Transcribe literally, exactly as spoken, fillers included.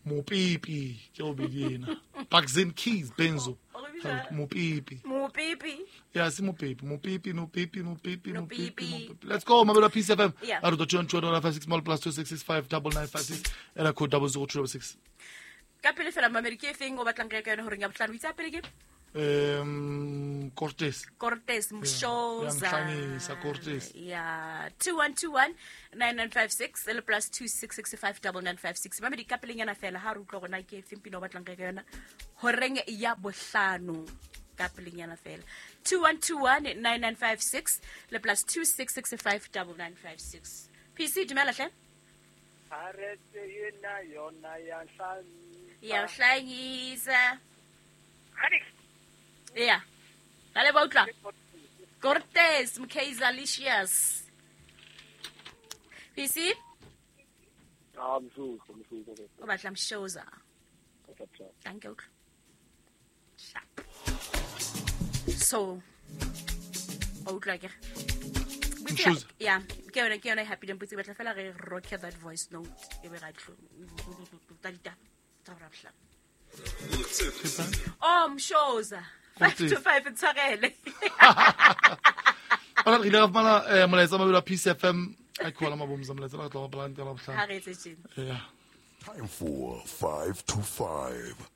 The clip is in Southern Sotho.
Mopipi ke o bidina. Baxin Keys Benzo. Mopipi. Mopipi. Yeah, si Mopipi. Mopipi, Mopipi, Mopipi, Mopipi. Let's go, Mabelo Peace F M. Yeah. Out of the two two five six plus two six six five double nine five six and a code double zero two six. Ka pele fela mamedi ke efeng o batlang re ka yona horeng ya bohlano? O itse pele ke? Um, Cortez. Cortez Mshoza. Yeah, Cortez. Yeah, two one two one nine nine five six le plus two six six five double nine five six. Mamedi ka pelenyana fela ha re utlwa gona ke efeng pina o batlang re ka yona horeng ya bohlano. Ka pelenyana fela. two one two one nine nine five six le plus two six six five double nine five six. P C dumela hle. Aretse yena yona ya hlanyisa. Ya hlanyisa. Yeah. Dale ba utlwa. Cortez Mkazalicious. P C? Ah, mshuzo, mshuzo. O batla Mshoza. Thank you. So, o utlwa ke. Mshoza. Yeah, ke yona ke yona happy dem putse batla fela re rock that voice note e be ra tlo. Tsa tsa ra bla. Oh, Mshoza. Five to five in tshwarele. Ora re ile ra fumana molaetsa mabelo a Peace F M a khola mabomza molaetsa re tla ba bala ntela bohlano. Ha re etse tjena. Yeah. Time for five to five.